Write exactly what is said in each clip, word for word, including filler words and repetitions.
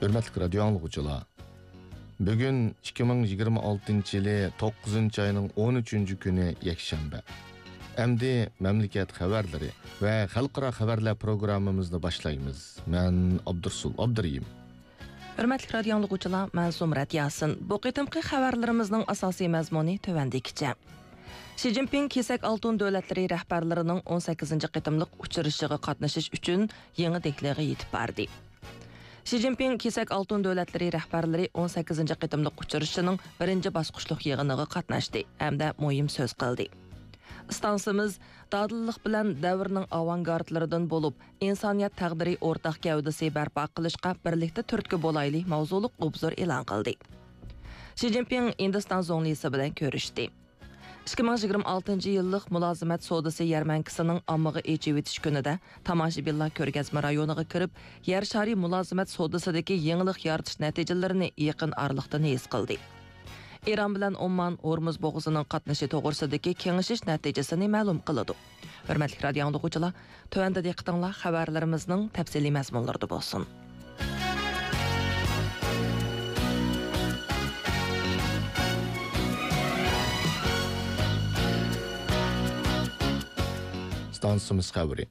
ھۆرمەتلىك رادىيو ئاڭلىغۇچىلار، بۈگۈن ئىككى مىڭ يىگىرمە ئالتىنچى يىلى توققۇزىنچى ئاينىڭ ئون ئۈچىنچى كۈنى يەكشەنبە. ئەمدى مەملىكەت خەۋەرلىرى ۋە خەلقئارا خەۋەرلەر پروگراممىمىزنى باشلايمىز. مەن ئابدۇرسۇل ئابدۇرېھىم. ھۆرمەتلىك رادىيو ئاڭلىغۇچىلار، مەن زۇمرەت ياسىن. بۇ قېتىمقى خەۋەرلىرىمىزنىڭ ئاساسىي مەزمۇنى تۆۋەندىكىچە. شى جىنپىڭ كېسەك ئالتۇن دۆلەتلىرى رەھبەرلىرىنىڭ ئون سەككىزىنچى قېتىملىق ئۇچرىشىشىغا قاتنىشىش ئۈچۈن يېڭى دېھلىغا يېتىپ باردى. شى جىنپىڭ كېسەك ئالتۇن دۆلەتلىرى رەھبەرلىرى ئون سەككىزىنچى قېتىملىق ئۇچرىشىشىنىڭ بىرىنچى باسقۇچلۇق يىغىنىغا قاتناشتى ھەمدە مۇھىم سۆز قىلدى. ئىستانسىمىز دادىللىق بىلەن دەۋرنىڭ ئاۋانگارتلىرىدىن بولۇپ، ئىنسانىيەت تەقدىرى ئورتاق گەۋدىسى بەرپا قىلىشقا بىرلىكتە تۈرتكە بولايلى ماۋزۇلۇق ئوبزور ئېلان قىلدى. شى جىنپىڭ ھىندىستان زۇڭلىسى بىلەن كۆرۈشتى. ئىككى مىڭ يىگىرمە ئالتىنچى يىللىق مۇلازىمەت سودىسى يەرمەنكىسىنىڭ ئاممىغا ئېچىۋېتىش كۈنىدە تاماشىبىنلار كۆرگەزمە رايونىغا كىرىپ، يەر شارى مۇلازىمەت سودىسىدىكى يېڭىلىق يارىتىش نەتىجىلىرىنى يېقىن ئارىلىقتىن ھېس قىلدى. ئىران بىلەن ئومان ھورمۇز بوغۇزىنىڭ قاتنىشى توغرىسىدىكى كېڭىشىش نەتىجىسىنى مەلۇم قىلىدۇ. ھۆرمەتلىك رادىيو ئاڭلىغۇچىلار، تۆۋەندە دىققىتىڭلار خەۋەرلىرىمىزنىڭ تەپسىلىي مەزمۇنلىرىدا بولسۇن. ئىستانسىمىز خەۋىرى.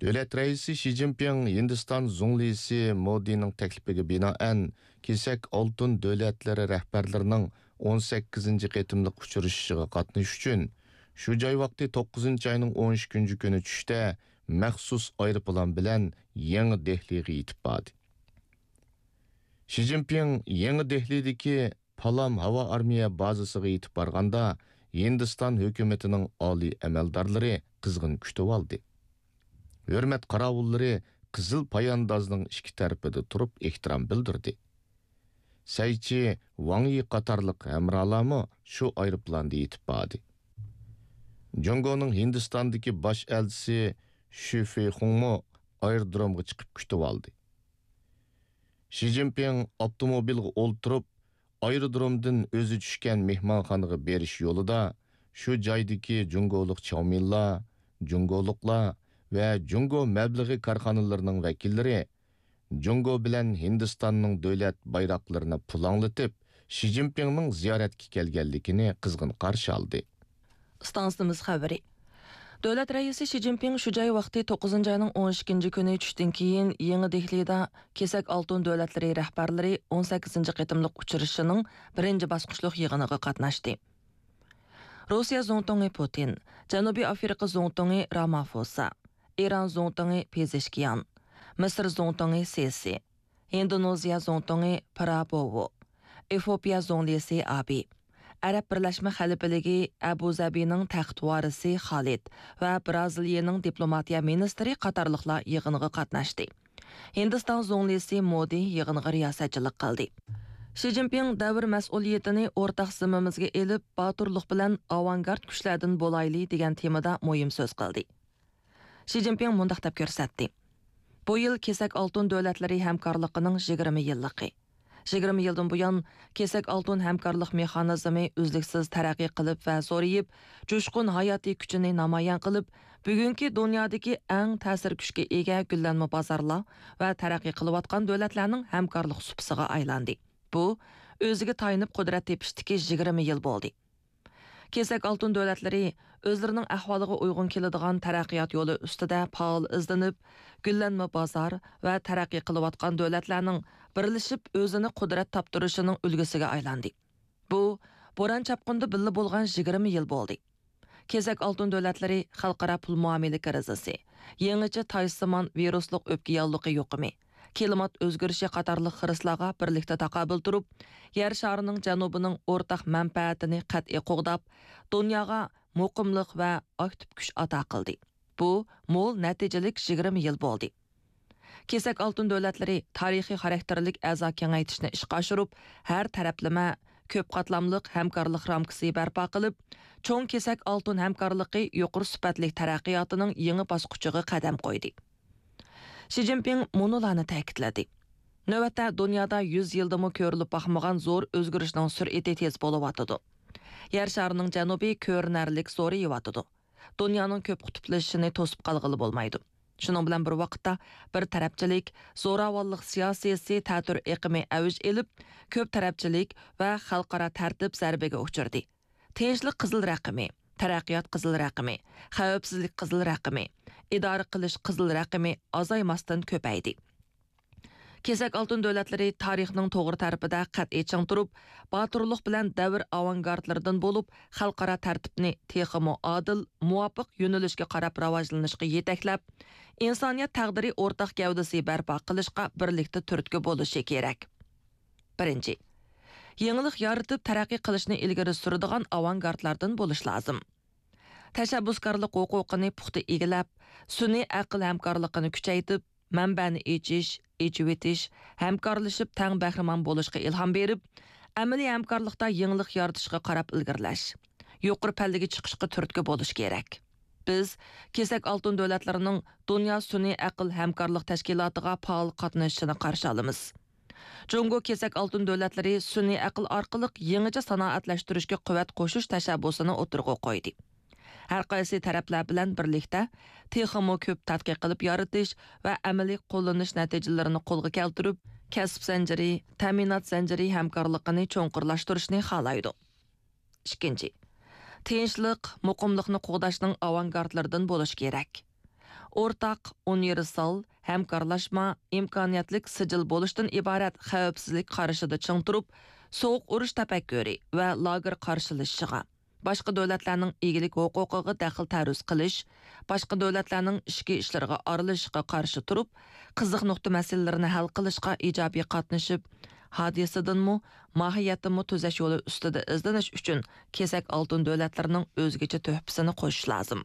دۆلەت رەئىسى شى جىنپىڭ ھىندىستان زۇڭلىسى مودىنىڭ تەكلىپىگە بىنائەن، كېسەك ئالتۇن دۆلەتلىرى رەھبەرلىرىنىڭ ئون سەككىزىنچى قېتىملىق ئۇچرىشىشىغا قاتنىشىش ئۈچۈن، شۇ جاي ۋاقتى توققۇزىنچى ئاينىڭ ئون ئىككىنچى كۈنى چۈشتە مەخسۇس ئايروپىلان بىلەن يېڭى دېھلىغا يېتىپ باردى. شى جىنپىڭ يېڭى دېھلىدىكى پالام ھاۋا ئارمىيە بازىسىغا يېتىپ بارغاندا، ھىندىستان ھۆكۈمىتىنىڭ ئالىي ئەمەلدارلىرى قىزغىن كۈتۈۋالدى. ھۆرمەت قاراۋۇللىرى قىزىل پاياندازنىڭ ئىككى تەرىپىدە تۇرۇپ ئېھتىرام بىلدۈردى. سەيچى ۋاڭ يى قاتارلىق ھەمراھلارمۇ شۇ ئايروپىلاندا يېتىپ باردى. جۇڭگونىڭ ھىندىستاندىكى باش ئەلچىسى شۈ فېيخۇڭمۇ ئايرودرومغا چىقىپ كۈتۈۋالدى. شى جىنپىڭ ئاپتوموبىلغا ئولتۇرۇپ، ئايرودرومدىن ئۆزى چۈشكەن مېھمانخانىغا بېرىش يولىدا شۇ جايدىكى جۇڭگولۇق چاۋمىنلار، جۇڭگولۇقلار ۋە جۇڭگو مەبلىغى كارخانىلىرىنىڭ ۋەكىللىرى جۇڭگو بىلەن ھىندىستاننىڭ دۆلەت بايراقلىرىنى پۇلاڭلىتىپ، شى جىنپىڭنىڭ زىيارەتكە كەلگەنلىكىنى قىزغىن قارشى ئالدى. ئىستانسىمىز خەۋىرى. دۆلەت رەئىسى شى جىنپىڭ شۇ جاي ۋاقتى توققۇزىنچى ئاينىڭ ئون ئىككىنچى كۈنى چۈشتىن كېيىن يېڭى دېھلىدا كېسەك ئالتۇن دۆلەتلىرى رەھبەرلىرى ئون سەككىزىنچى قېتىملىق ئۇچرىشىشىنىڭ بىرىنچى باسقۇچلۇق يىغىنىغا قاتناشتى. روسىيە زۇڭتۇڭى پۇتىن، جەنۇبىي ئافرىقا زۇڭتۇڭى رامافوسا، ئىران زۇڭتۇڭى پېزېشكىيان، مىسىر زۇڭتۇڭى سىسى، ھىندونېزىيە زۇڭتۇڭى پرابوۋو، ئېفىئوپىيە زۇڭلىسى ئابى، ئەرەب بىرلەشمە خەلىپىلىكى ئەبۇزەبىنىڭ تەخت ۋارىسى خالىد ۋە بىرازىلىيەنىڭ دىپلوماتىيە مىنىستىرى قاتارلىقلار يىغىنغا قاتناشتى. ھىندىستان زۇڭلىسى مودى يىغىنغا رىياسەتچىلىك قىلدى. شى جىنپىڭ دەۋر مەسئۇلىيىتىنى ئورتاق زىممىمىزگە ئېلىپ، باتۇرلۇق بىلەن ئاۋانگارت كۈچلەردىن بولايلى دېگەن تېمىدا مۇھىم سۆز قىلدى. شى جىنپىڭ مۇنداق دەپ كۆرسەتتى: بۇ يىل كېسەك ئالتۇن دۆلەتلىرى ھەمكارلىقىنىڭ يىگىرمە يىللىقى. يىگىرمە يىلدىن بۇيان، كېسەك ئالتۇن ھەمكارلىق مېخانىزمى ئۈزلۈكسىز تەرەققىي قىلىپ ۋە زورىيىپ، جۇشقۇن ھاياتىي كۈچىنى نامايان قىلىپ، بۈگۈنكى دۇنيادىكى ئەڭ تەسىر كۈچكە ئىگە گۈللەنمە بازارلار ۋە تەرەققىي قىلىۋاتقان دۆلەتلەرنىڭ ھەمكارلىق سۇپىسىغا ئايلاندى. بۇ، ئۆزىگە تايىنىپ قۇدرەت تېپىشتىكى يىگىرمە يىل بولدى. كېسەك ئالتۇن دۆلەتلىرى ئۆزلىرىنىڭ ئەھۋالىغا ئۇيغۇن كېلىدىغان تەرەققىيات يولى ئۈستىدە پائال ئىزدىنىپ، گۈللەنمە بازار ۋە تەرەققىي قىلىۋاتقان دۆلەتلەرنىڭ بىرلىشىپ ئۆزىنى قۇدرەت تاپتۇرۇشىنىڭ ئۈلگىسىگە ئايلاندى. بۇ، بوران-چاپقۇندا بىللە بولغان يىگىرمە يىل بولدى. كېسەك ئالتۇن دۆلەتلىرى خەلقئارا پۇل مۇئامىلە كىرىزىسى، يېڭىچە تايسىمان ۋىرۇسلۇق ئۆپكە ياللۇقى يۇقۇمى، كىلىمات ئۆزگىرىشى قاتارلىق خىرىسلارغا بىرلىكتە تاقابىل تۇرۇپ، يەر شارىنىڭ جەنۇبىنىڭ ئورتاق مەنپەئەتىنى قەتئىي قوغداپ، دۇنياغا مۇقىملىق ۋە ئاكتىپ كۈچ ئاتا قىلدى. بۇ مول نەتىجىلىك يىگىرمە يىل بولدى. كېسەك ئالتۇن دۆلەتلىرى تارىخىي خاراكتېرلىك ئەزا كېڭەيتىشنى ئىشقا ئاشۇرۇپ، ھەر تەرەپلىمە كۆپ قاتلاملىق ھەمكارلىق رامكىسى بەرپا قىلىپ، چوڭ كېسەك ئالتۇن ھەمكارلىقى يۇقىرى سۈپەتلىك تەرەققىياتىنىڭ يېڭى باسقۇچىغا قەدەم قويدى. شى جىنپىڭ مۇنۇلارنى تەكىتلىدى: نۆۋەتتە دۇنيادا يۈز يىلدىمۇ كۆرۈلۈپ باقمىغان زور ئۆزگىرىشنىڭ سۈرئىتى تېز بولۇۋاتىدۇ. يەر شارىنىڭ جەنۇبى كۆرۈنەرلىك زورىيىۋاتىدۇ. دۇنيانىڭ كۆپ قۇتۇپلىشىشىنى توسۇپ قالغىلى بولمايدۇ. شۇنىڭ بىلەن بىر ۋاقىتتا، بىر تەرەپچىلىك، زوراۋانلىق سىياسىيسى تەتۈر ئېقىمى ئەۋج ئېلىپ، كۆپ تەرەپچىلىك ۋە خەلقئارا تەرتىپ زەربىگە ئۇچرىدى. تىنچلىق قىزىل رەقىمى، تەرەققىيات قىزىل رەقىمى، خەۋپسىزلىك قىزىل رەقىمى، ئىدارە قىلىش قىزىل رەقىمى ئازايماستىن كۆپەيدى. كېسەك ئالتۇن دۆلەتلىرى تارىخنىڭ توغرا تەرىپىدە قەتئىي چىڭ تۇرۇپ، باتۇرلۇق بىلەن دەۋر ئاۋانگارتلىرىدىن بولۇپ، خەلقئارا تەرتىپنى تېخىمۇ ئادىل، مۇۋاپىق يۆنىلىشكە قاراپ راۋاجلىنىشقا يېتەكلەپ، ئىنسانىيەت تەقدىرى ئورتاق گەۋدىسى بەرپا قىلىشقا بىرلىكتە تۈرتكە بولۇشى كېرەك. بىرىنچى، يېڭىلىق يارىتىپ تەرەققىي قىلىشنى ئىلگىرى سۈرىدىغان ئاۋانگارتلاردىن بولۇش لازىم. تەشەببۇسكارلىق ھوقۇقىنى پۇختا ئىگىلەپ، سۈنئىي ئەقىل ھەمكارلىقىنى كۈچەيتىپ، مەنبەنى ئېچىش، ئېچىۋېتىش، ھەمكارلىشىپ تەڭ بەھرىمەن بولۇشقا ئىلھام بېرىپ، ئەمەلىي ھەمكارلىقتا يېڭىلىق يارىتىشقا قاراپ ئىلگىرىلەش، يۇقىرى پەللىگە چىقىشقا تۈرتكە بولۇش كېرەك. بىز كېسەك ئالتۇن دۆلەتلىرىنىڭ دۇنيا سۈنئىي ئەقىل ھەمكارلىق تەشكىلاتىغا پائال قاتنىشىشىنى قارشى ئالىمىز. جۇڭگو كېسەك ئالتۇن دۆلەتلىرى سۈنئىي ئەقىل ئارقىلىق يېڭىچە سانائەتلەشتۈرۈشكە قۇۋۋەت قوشۇش تەشەببۇسىنى ئوتتۇرىغا قويدى. ھەر قايسى تەرەپلەر بىلەن بىرلىكتە تېخىمۇ كۆپ تەتقىق قىلىپ يارىتىش ۋە ئەمەلىي قوللىنىش نەتىجىلىرىنى قولغا كەلتۈرۈپ، كەسىپ زەنجىرى، تەمىنات زەنجىرى ھەمكارلىقىنى چوڭقۇرلاشتۇرۇشنى خالايدۇ. ئىككىنچى، تىنچلىق، مۇقىملىقنى قوغداشنىڭ ئاۋانگارتلىرىدىن بولۇش كېرەك. ئورتاق، ئۇنىۋېرسال، ھەمكارلاشما، ئىمكانىيەتلىك سىجىل بولۇشتىن ئىبارەت خەۋپسىزلىك قارىشىدا چىڭ تۇرۇپ، سوغۇق ئۇرۇش تەپەككۇرى ۋە لاگېر قارشىلىشىشىغا، باشقا دۆلەتلەرنىڭ ئىگىلىك ھوقۇقىغا دەخلى تەرۇز قىلىش، باشقا دۆلەتلەرنىڭ ئىچكى ئىشلىرىغا ئارىلىشىشقا قارشى تۇرۇپ، قىزىق نۇقتا مەسىلىلىرىنى ھەل قىلىشقا ئىجابىي قاتنىشىپ، ھادىسىدىنمۇ، ماھىيەتتىنمۇ تۈزەش يولى ئۈستىدە ئىزدىنىش ئۈچۈن كېسەك ئالتۇن دۆلەتلىرىنىڭ ئۆزگىچە تۆھپىسىنى قوشۇش لازىم.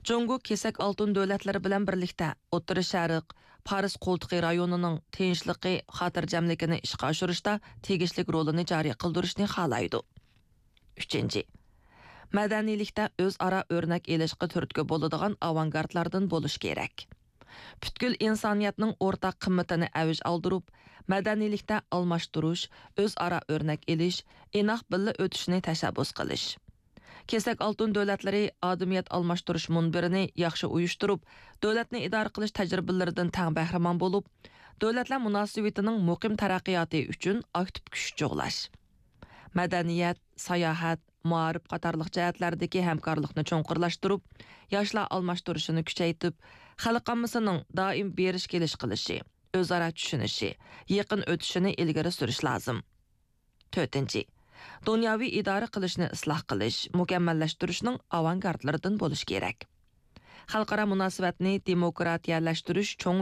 جۇڭگو كېسەك ئالتۇن دۆلەتلىرى بىلەن بىرلىكتە ئوتتۇرا شەرق، پارس قولتۇقى رايونىنىڭ تىنچلىقى، خاتىرجەملىكىنى ئىشقا ئاشۇرۇشتا تېگىشلىك رولىنى جارى قىلدۇرۇشنى خالايدۇ. ئۈچىنچى، مەدەنىيلىكتە ئۆزئارا ئۆرنەك ئېلىشقا تۈرتكە بولىدىغان ئاۋانگارتلاردىن بولۇش كېرەك. پۈتكۈل ئىنسانىيەتنىڭ ئورتاق قىممىتىنى ئەۋج ئالدۇرۇپ، مەدەنىيلىكتە ئالماشتۇرۇش، ئۆزئارا ئۆرنەك ئېلىش، ئىناق بىللە ئۆتۈشنى تەشەببۇس قىلىش. كېسەك ئالتۇن دۆلەتلىرى ئادىمىيەت ئالماشتۇرۇش مۇنبىرىنى ياخشى ئۇيۇشتۇرۇپ، دۆلەتنى ئىدارە قىلىش تەجرىبىلىرىدىن تەڭ بەھرىمەن بولۇپ، دۆلەتلەر مۇناسىۋىتىنىڭ مۇقىم تەرەققىياتى ئۈچۈن ئاكتىپ كۈچ جۇغلاش. مەدەنىيەت، ساياھەت، مائارىپ قاتارلىق جەھەتلەردىكى ھەمكارلىقنى چوڭقۇرلاشتۇرۇپ، ياشلار ئالماشتۇرۇشىنى كۈچەيتىپ، خەلق ئاممىسىنىڭ دائىم بېرىش كېلىش قىلىشى، ئۆزئارا چۈشىنىشى، يېقىن ئۆتۈشىنى ئىلگىرى سۈرۈش لازىم. تۆتىنچى، دۇنياۋى ئىدارە قىلىشنى ئىسلاھ قىلىش، مۇكەممەللەشتۈرۈشنىڭ ئاۋانگارتلىرىدىن بولۇش كېرەك. خەلقئارا مۇناسىۋەتنى دېموكراتىيەلەشتۈرۈش چوڭ